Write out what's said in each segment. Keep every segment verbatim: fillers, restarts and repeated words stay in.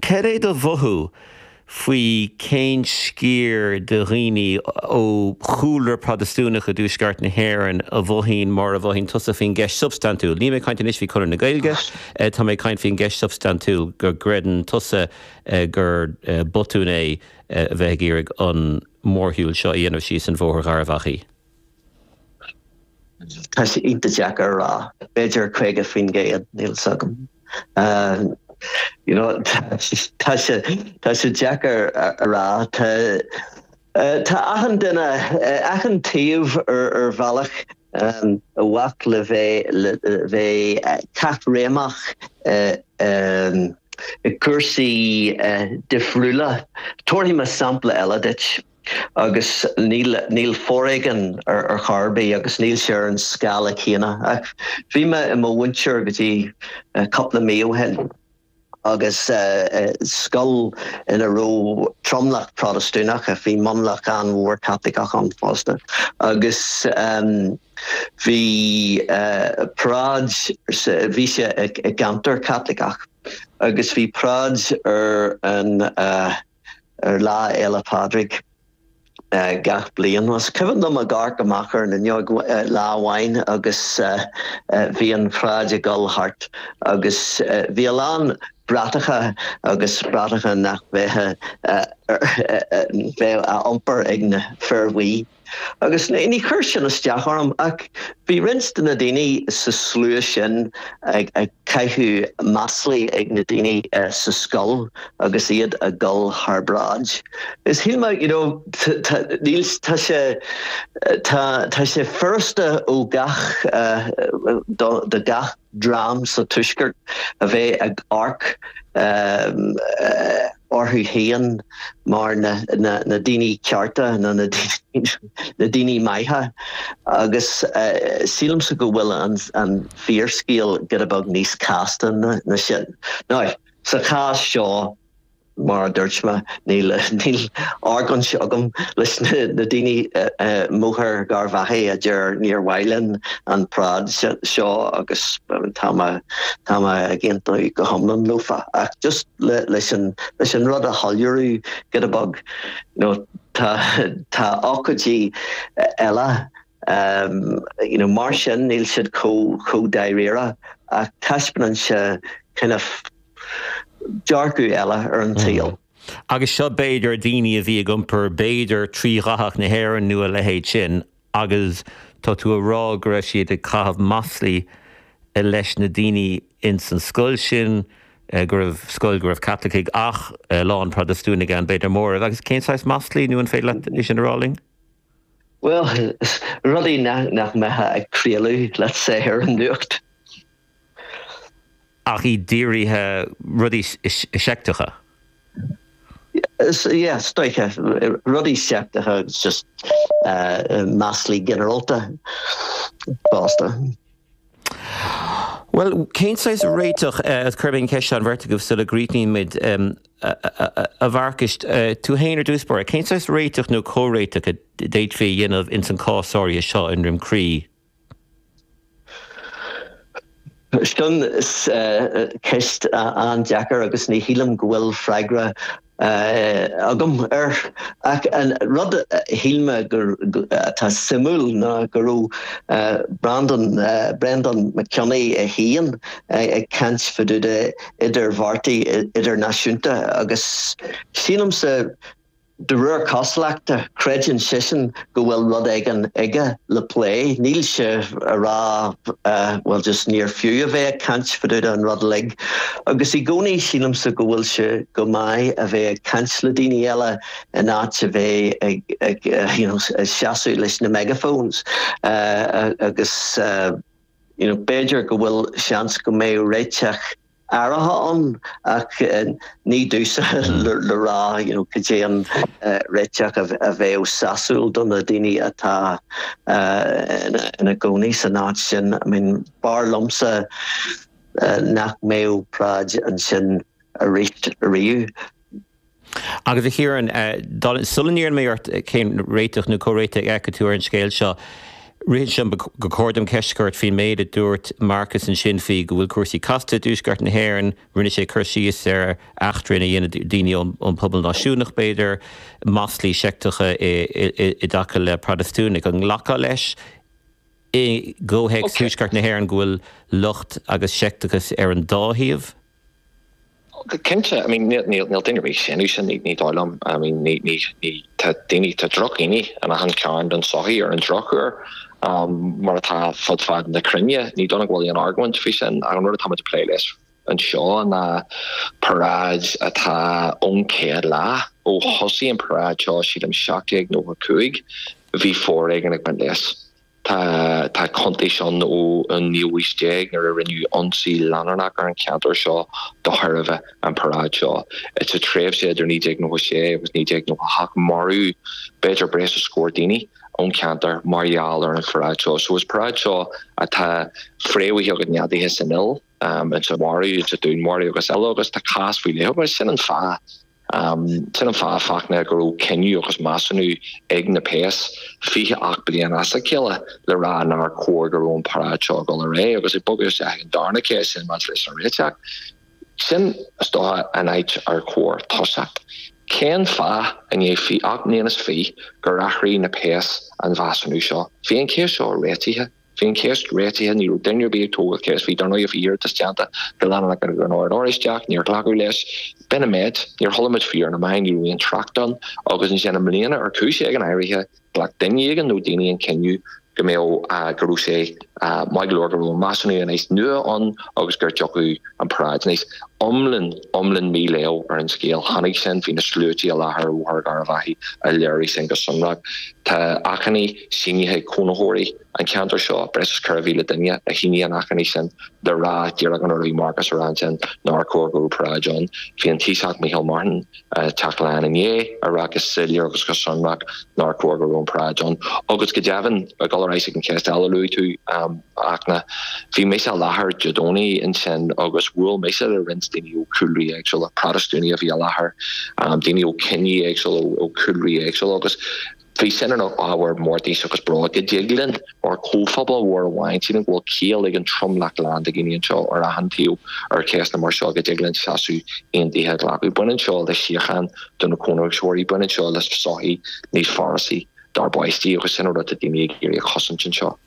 Cad é do mhothú faoi cén sciar de dhaoine ó chúlra Protastúnach i dtuaisceart na hÉireann a mhothaíonn mar a mhothaíonn tusa faoin gceist substaintiúil. Níl mé ag caint anois faoi Chonradh na Gaeilge, tá mé ag caint faoin gceist substaintiúil go gcreideann tusa gur botún é a bheith ag iarraidh an mórshiúl seo a dhéanamh síos an Bhóthar Gharbhachaidh. Tá sé iontach deacair a rá, b'fhéidir caoga faoin gcéad níl 's agam. You know, tá sé tá sé deacair a rá tá tá achan duine achan taobh ar ar bhealach um, a mhac le bheith le bheith caithréimeach um, i cúrsaí uh, difriúla. Tabharfaidh mé sampla eile duit. agus níl níl foréigean ar ar chor ar bith agus níl sé ar an scála céanna. Ach bhí mé i mo mhúinteoir go dtí uh, cúpla mí ó shin agus uh, uh, scoil ina raibh tromlach Protastúnach a bhí mionlach an-mhór Caitliceach ann fosta. Agus um, bhí uh, paráid bhí sé i gceantar Caitliceach agus bhí paráid ar an uh, ar Lá Fhéile Pádraig. Uh, gach bliain was cuimhin liom ag amharc amach ar an fhuinneog uh, lá amháin agus uh, uh, bhí an pharáid ag dul thart agus uh, bhí a lán bratacha agus bratacha nach bheith bheith á iompar ag na fir bhuí. Agus ní chuir sin isteach orm ach bhí roinnt de na daoine sa slua sin ag ag caitheamh maslaí ag na daoine uh, sa scoil agus iad ag dul thar bráid. Is shíl mé you know, níl tá sé tá sé furasta ó gach uh, do, do gach dream sa tuaisceart a bheith ag amharc um, uh, orthu féin mar na, na, na daoine cearta na na, na daoine maithe agus uh, sílimse go bhfuil an, an fíorscéal giota beag níos casta ná, ná sin. Now, sa chás seo mar a dúirt mé níl níl argóint agam leis na, na daoine uh, uh, mBóthar Gharbhachaidh a deir níor mhaith linn an pharáid seo agus tá tá ag aontú go hiomlán leofa ach just le, leis an leis an rud a shoiléiriú giota beag you know, tá tá ócáidí eile um, you know, mar sin níl siad chomh chomh dáiríre ach taispeánann sé kind of dearcadh eile ar an tsaol. Mm. Agus seo b'fhéidir daoine a bhí ag iompar b'fhéidir trídhathach na hÉireann nó a leithéid sin agus tá tú ag rá go raibh siad ag caitheamh maslaí leis na daoine ins an scoil sin go raibh scoil go raibh Caitlicigh ach lán Protastúnaigh ann b'fhéidir mór agus cén saghas maslaí nó an féidir leat é sin a rá linn? Well, rudaí nach, nach mbeadh ag craoladh let's say ar an nuacht. Ach i dírithe rudaí seicteacha. Yeah, stoiche rudaí seicteacha just uh, maslaí ginearálta fosta. Well, cén saghas réiteach uh, chuir an cheist an bheirt agaibh sula gcríochnaímid um, a Mharcais uh, tú féin ar dtús báire, cén saghas réiteach nó comhréiteach a d'fhéadfaí a dhéanamh ins an cás áirithe seo i nDroim Crí? Sin ceist an-deacair agus ní shílim go bhfuil freagra agam air ach an rud a shíl mé gur atá suimiúil ná go raibh Brandon Brendan McKinney é féin ag caint fá dtaobh de idirbheartaí idirnáisiúnta agus sílimse De réir cosúlachta, creideann seisean go bhfuil rud éigin aige le plé. Níl sé a rá bhuel just níor fiú a bheith ag caint fá dtaobh den rud uilig. Agus i gcónaí sílimse go bhfuil sé go maith a bheith ag caint le daoine eile in áit a bheith ag ag you know ag seasamh leis na megaphones agus you know b'fhéidir go bhfuil seans go mbeadh réiteach áirithe ann ach ní domhsa le rá you know cad é an réiteach a bheadh sásúil do na daoine atá ina gcónaí san áit sin. I mean b'fhearr liomsa nach mbeadh paráid ansin arís ariamh. Agus a Chiaráin, sula n-iarrann mé ort cén réiteach nó comhréiteach a fheiceann tú ar an scéal seo, Ritheann sé liom gur chóir dom ceist a chur ort faoin méid a dúirt Marcus ansin faoi go bhfuil cúrsaí casta i dTuaisceart na hÉireann. Rinne sé cur síos ar eachtraí a dhéanadh daoine ón bpobal náisiúnach, b'fhéidir, maslaí seicteacha i dtaca le Protastúnaigh. An nglacfá leis i gcomhthéacs Thuaisceart na hÉireann go bhfuil locht agus seicteachas ar an dá thaobh? Cinnte, I mean, níl duine ar bith ag séanadh sin, ní dóigh liom. I mean, ní, ní, ní, tá daoine, tá drochdhaoine in achan cearn den tsochaí ar an drochuair, mar atá fud fad na cruinne. Ní dóigh liom go bhfuil aon argóint faoi sin. Ach an rud atá muid ag plé leis anseo ná paráid atá ón chéad lá, ó thosaigh an paráid seo, sílim, seacht déag nócha cúig, bhí foréigean ag baint leis. Tá tá cuntais ann ón naoú haois déag nuair a rinneadh ionsaí leanúnach ar an cheantar seo de thairbhe an paráid seo. Sa tréimhse idir naoi déag nócha sé agus naoi déag nócha hocht maraíodh b'fhéidir breis is scór daoine ón cheantar mar gheall ar an pharáid seo. So is paráid seo atá fréamhaithe agus neadaithe san fhuil, insa mharú, insa dúnmharú agus eile agus tá cás faoi leith agus sin an fáth Sin an fáth, Fachtna, go raibh cinneadh agus measúnú ag na péas fiche ocht bliain as a chéile le rá nár chóir go raibh an paráid seo ag dul ar aghaidh agus ag bogadh isteach ag an darna ceist sin maidir leis an réiteach. Sin, is dócha, an áit ar chóir tosacht. Cén fáth, i ndiaidh fiche ocht mbliana is fiche, gur athraigh na péas an mheasúnú seo? Bhí an cheist seo réitithe. Bhí an cheist réitithe, ní raibh duine ar bith ag tógáil ceist, bhí dar ndóigh bhí iarratas déanta go leanúnach ag an Ord Oráisteach, níor glacadh leis. B'in an méid, níor chuala muid faoi ar na meáin, ní raibh aon trácht ann agus ansin i mbliana ar chúis éigin áirithe, ghlac duine éigin nó daoine an cinneadh go mbeadh, go raibh sé maith go leor go raibh an measúnú anois nua ann agus gur dtiocfadh an paráid anois. Iomlán, iomlán mí-léamh ar an scéal. Tháinig sin, bhí na sluaite i láthair ar Bhóthar Gharbhachaidh a léirigh sin go sonrach. Tá achainí sínithe ag cónaitheoirí an cheantair seo, breis is ceithre mhíle duine a shínigh an achainí sin le rá díreach an rud a bhí Marcus a rá ansin, nár chóir go raibh paráid ann. Bhí an Taoiseach Micheál Martin ag Teach Laighean inné ag rá go soiléir agus go sonrach nár chóir go raibh an paráid ann. Agus go deimhin, ag dul ar ais ag an cheist eile a luaigh tú, a Fhachtna, bhí mise i láthair Dé Domhnaigh ansin agus bhuail mise le roinnt daoine ó chúlraí éagsúla, Protastúnaigh a bhí i láthair, daoine ó chiní éagsúla, ó chúlraí éagsúla agus bhí sin ina ábhar mórtais agus bróid go dtig linn mar chomhphobal mhór amháin, sílim go bhfuil ciall ag an tromlach lán de dhaoine anseo ar achan taobh ar cheisteanna mar seo, go dtig linn seasamh aontaithe a ghlacadh. Baineann seo le síocháin do na cónaitheoirí, baineann seo le sochaí níos forásí dár bpáistí agus sin an rud atá daoine ag iarraidh a chosaint anseo.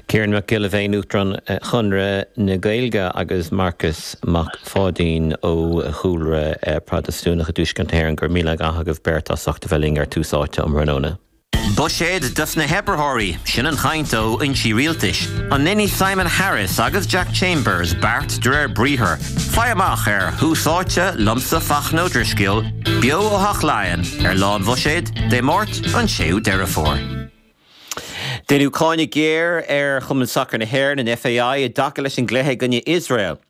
Ciarán Mac Giolla Bhéin, Uachtarán Chonradh na Gaeilge agus Marcas Mac Pháidín ó chúlra Protastúnach i dTuaisceart na hÉireann, go raibh míle maith agaibh beirt as ucht a bheith linn ar Tús Áite um thráthnóna. Buiséad dos na hoibritheoirí, sin an chaint ó fhoinsí rialtais. An ndéanfaidh Simon Harris agus Jack Chambers beart de réir briathair? Faigh amach ar Thús Áite liomsa Fachtna Ó Drisceoil, beo ó Theach Laighean ar Lá an Bhuiséid, Dé Máirt an séú Deireadh Fómhair. Deineadh cáineadh géar ar Chumann Sacair na hÉireann, an FAI, i dtaca leis an gcluiche i gcoinne Iosrael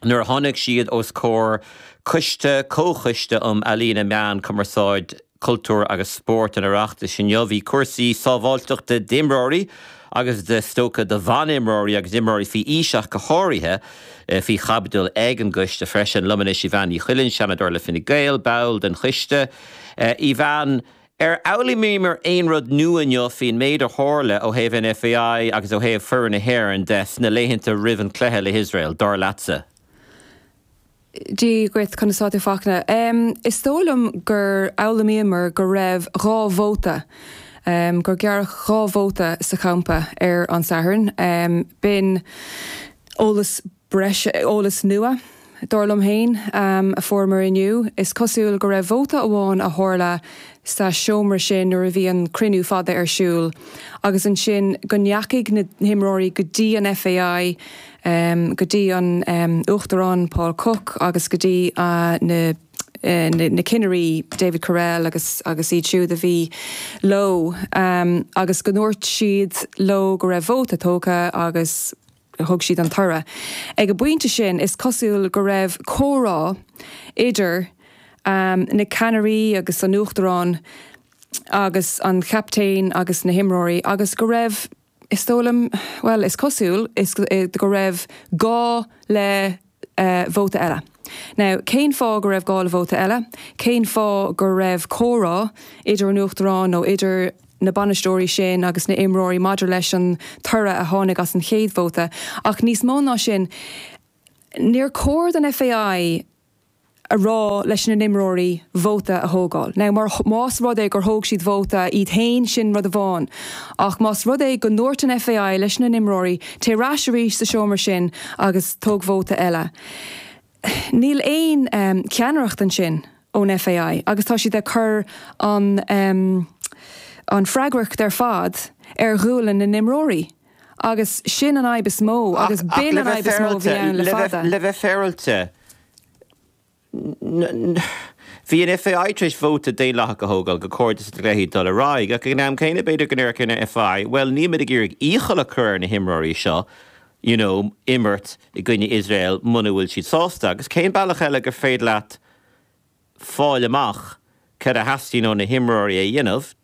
nuair a tháinig siad os comhair coiste, Comhchoiste um Ealaíona, Meán, Cumarsáid, Cultúr agus Spórt an Oireachtais inniu. Bhí cúrsaí sábháilteachta d'imreoirí agus is dócha do bhanimreoirí agus imreoirí faoi aois ach go háirithe faoi chaibidil ag an gcoiste freisin. Liom anois Evanne Ní Chuilinn, Seanadóir le Fine Gael, ball den choiste. Evanne, Ar fhoghlaimíomar aon rud nua inniu faoin méid a tharla ó thaobh an FAI agus ó thaobh foireann na hÉireann de sna laethanta roimh an chluiche le hIosrael, dar leatsa? Dia dhuit, conas tá tú Fachtna? Is dóigh liom gur fhoghlaimíomar go raibh dhá vóta, gur gearradh dhá vóta sa champa ar an Satharn. B'in eolas breise, eolas nua, dar liom féin, a fuaireamar inniu. Is cosúil go raibh vóta amháin a tharla sa seomra sin nuair a bhí an cruinniú fada ar siúl agus ansin go ndeachaigh na himreoirí go dtí an FAI, go dtí an Uachtarán Paul Cooke agus go dtí na na cinnirí David Courell agus agus iad siúd a bhí leo agus go ndúirt siad leo go raibh vóta tógtha agus thug siad an toradh. Ag an bpointe sin, is cosúil go raibh comhrá idir na ceannairí agus an Uachtarán agus an chaptaen agus na himreoirí agus go raibh, is dóigh liom, bhuel, is cosúil go raibh gá le vóta eile. Now, cén fáth go raibh gá le vóta eile? Cén fáth go raibh comhrá idir an Uachtarán nó idir na bainisteoirí sin agus na imreoirí maidir leis an toradh a tháinig as an chéad vóta. Ach níos mó ná sin, níor chóir don F A I a rá leis na n-imreoirí vóta a thógáil. Now mar más rud é gur thóg siad vóta iad féin, sin rud amháin. Ach más rud é go ndúirt an F A I leis na n-imreoirí téigh ar ais arís sa seomra sin agus tóg vóta eile. Níl aon um, ceannaireacht ansin ón F A I agus tá siad ag cur an, um, an freagracht ar fad ar ghuaillí na n-imreoirí. Agus sin an fhadhb is mó agus b'in an fhadhb is mó bhí ann le fada. Le bheith féaráilte. Bhí an F A I tar éis vóta daonlathach a thógáil gur chóir do na cluichí dul ar aghaidh, ach ag an am céanna b'fhéidir go ndéarfadh an F A I, well ní ag iarraidh iachall a chur ar na himreoirí seo, you know, imirt i gcoinne Iosrael muna bhfuil siad sásta, agus cén bealach eile gur féidir leat fáil amach cad a theastaíonn ó na himreoirí a dhéanamh,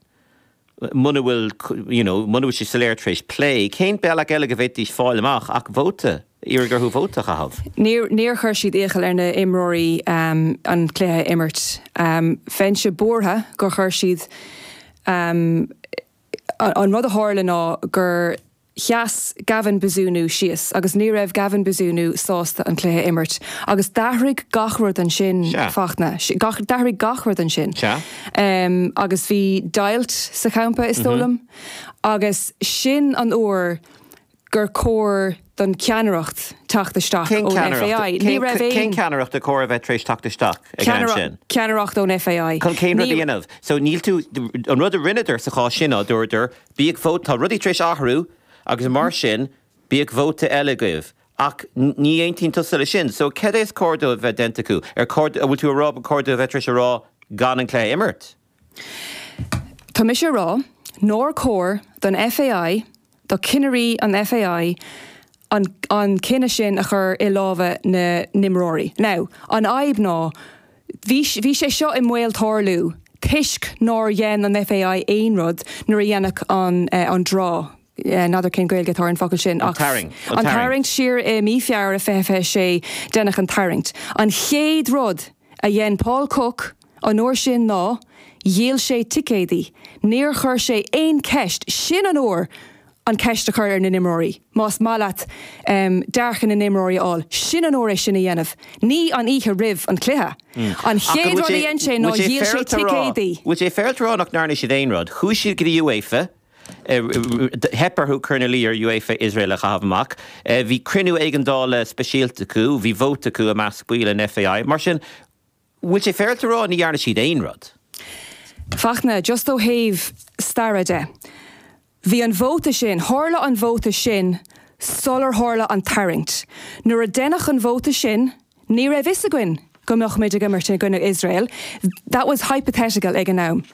muna bhfuil you know, muna bhfuil sé soiléir tar éis plé, cén bealach eile go bhféadfaidís fáil amach ach vóta, iarraidh orthu vóta a chaitheamh. Níor níor chuir siad iachall ar na imreoirí um, an cluiche imirt. Um, Bheinnse buartha gur chuir siad um, an rud a tharla ná gur sheas Gavin Bazunu síos agus ní raibh Gavin Bazunu sásta an cluiche imirt. Agus d'athraigh gach rud ansin Fachtna, d'athraigh gach rud ansin. Um, agus bhí deighilt sa champa is dóigh liom. Mm -hmm. Agus sin an uair gur chóir don ceannaireacht teacht isteach ón F A I. Ní raibh Cén ceannaireacht a chóir a bheith tar éis teacht isteach sin? Ceannaireacht ón F A I. Chun cén rud a dhéanamh. So níl tú an rud a rinneadar sa chás sin ná dúradar bíodh vóta tá rudaí tar éis athrú agus mar sin bíodh vóta eile agaibh. Ach ní aontaíonn tusa leis sin, so cad é is cóir dóibh bheith déanta acu ar bhfuil tú ag rá chóir dóibh bheith tar éis a rá gan an cluiche imirt. Tá mise ag rá nár chóir don F A I do chinnirí an F A I an, an cinneadh sin a chur i lámha na n-imreoirí. Now, an fhadhb ná bhí bhí sé seo i mbaol tarlú, toisc nár dhein an F A I aon rud nuair a deineadh an, uh, an draw. N'fheadar cén Ghaeilge atá ar an focal sin an tarraingt. An tarraingt siar i mí Feabhra fiche sé deineadh an tarraingt. An chéad rud a dhein Paul Cook an uair sin ná, dhíol sé ticéidí. Níor chuir sé aon ceist sin an uair an ceist a chur ar na n-imreoirí. Más maith leat um, dearcadh na n-imreoirí á, sin an uair é sin a dhéanamh. Ní an oíche roimh an cluiche. Mm. An chéad rud a dhein sé ná dhíol sé ticéidí. Bhfuil sé féaráilte a rá nach ndearna siad aon rud, Chuaigh siad go dtí UEFA, theip orthu cur ina luí ar UEFA Israel a chaitheamh amach. Bhí cruinniú éigeandála speisialta acu, bhí vóta acu i measc baill an F A I, mar sin bhfuil sé féaráilte a rá ní dhearna siad aon rud. Fachtna, just ó thaobh staire de. Bhí an vóta sin, tharla an vóta sin sular tharla an tarraingt. Nuair a deineadh an vóta sin, ní raibh fhios againn go mbeadh muid ag imirt in gcoinne Israel. That was hypothetical ag an am.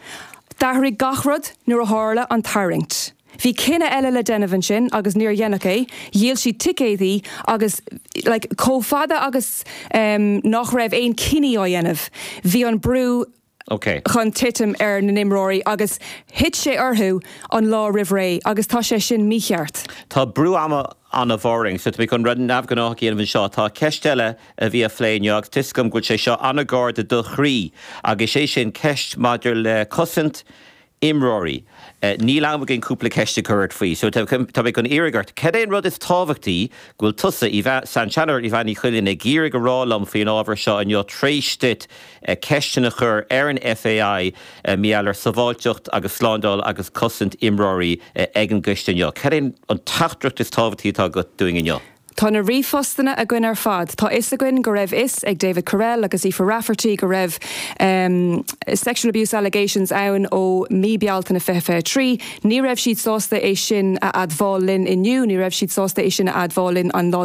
D'athraigh gach rud nuair a tharla an tarraingt. Bhí cinneadh eile le déanamh ansin agus níor deineadh é, dhíol siad ticéidí agus like, chomh fada agus um, nach raibh aon cinneadh á dhéanamh. Bhí an brú Okay. chun titim ar na n-imreoirí agus thit sé orthu an lá roimh ré agus tá sé sin mícheart. Tá brú ama an-mhór orainn, so tá chun rud neamhghnách a dhéanamh anseo tá ceist eile a bhí á plé inniu agus tá a fhios agam go bhfuil sé seo an-ghar do do chroí agus sé sin ceist maidir le cosaint imreoirí. Uh, níl am againn cúpla ceist a chur faoi, so tá mé chun iarraidh ort. Cad é an rud is tábhachtaí go bhfuil tusa san seanadóir Evanne Ní Chuilinn ag iarraidh a rá liom faoin ábhar seo inniu tar éis duit uh, ceisteanna a chur ar an F A I uh, maidir le sábháilteacht agus slándáil agus cosaint imreoirí uh, ag an gcoiste inniu. Cad é an teachtaireacht is tábhachtaí atá agat dúinn inniu. Tá na ríomhphostanna againn ar fad. Tá fhios againn go raibh fhios ag David Courell agus Aoife Rafferty go raibh um, sexual abuse allegations ann ó mí Bealtaine fiche trí. Ní raibh siad sásta é sin a admháil linn inniu, ní raibh siad sásta é sin a admháil linn an lá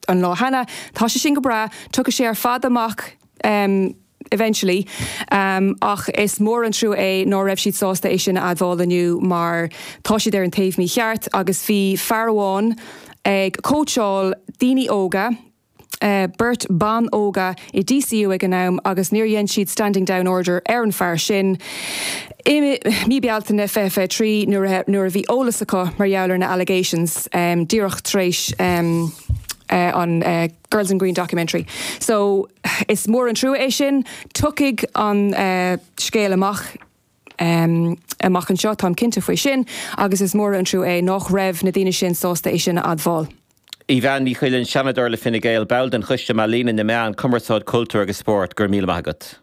an lá cheana. Tá sé sin go breá, tiocfaidh sé ar fad amach um, eventually um, ach is mór an trua é ná raibh siad sásta é sin a admháil inniu mar tá siad ar an taobh mícheart agus bhí fear amháin ag cóitseáil daoine óga, Uh, beirt ban óga i D C U ag an am agus níor dhein siad standing down order ar an fear sin. I mí Bealtaine fiche trí nuair a bhí eolas acu mar gheall ar na allegations um, díreach tar éis um, uh, an uh, Girls in Green documentary. So is mór an trua é sin, tiocfaidh an uh, scéal amach um, amach anseo táim cinnte faoi sin agus is mór an trua é nach raibh na daoine sin sásta é sin a admháil. Evanne Ní Chuilinn, Seanadóir le Fine Gael, ball den Choiste Ealaíon na Meán, Cumarsáid, Cultúr agus Spórt, go raibh míle maith agat.